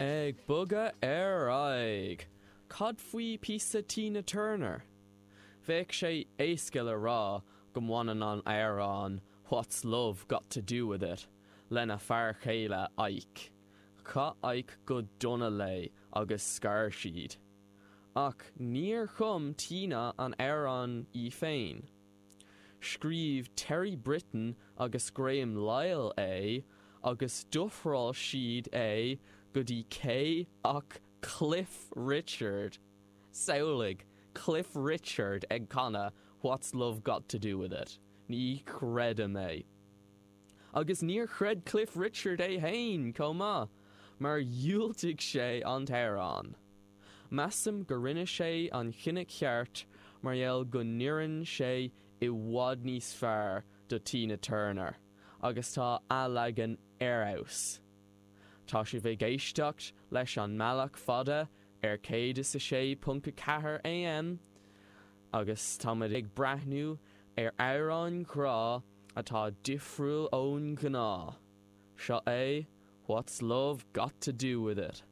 Ag bogadh ar aghaidh, cad faoi píosa Tina Turner? Bheadh sé éasca le rá go mbaineann an amhrán What's Love Got to Do With It lena fear chéile Ike. Chaith Ike go dona léi agus scar siad. Ach níor chum Tina an amhrán í féin. Scríobh Terry Britten agus Graham Lyle é agus d'ofráil siad é go dtí cé ach Cliff Richard! Samhlaigh Cliff Richard ag canadh What's Love Got to Do With It? Ní chreidim é. Agus níor chreid Cliff Richard é fhéin chomh maith, mar dhiúltaigh sé an t-amhrán. Measaim go rinne sé an chinneadh ceart mar gheall go n-oireann sé i bhfad níos fearr do Tina Turner agus tá a leagan ar fheabhas. Tá sibh ag éisteacht leis an mBealach Fada ar 106.4 AM agus táimid ag breathnú ar amhráin ghrá atá difriúil ón ghnáth. Seo é What's Love Got to Do With It?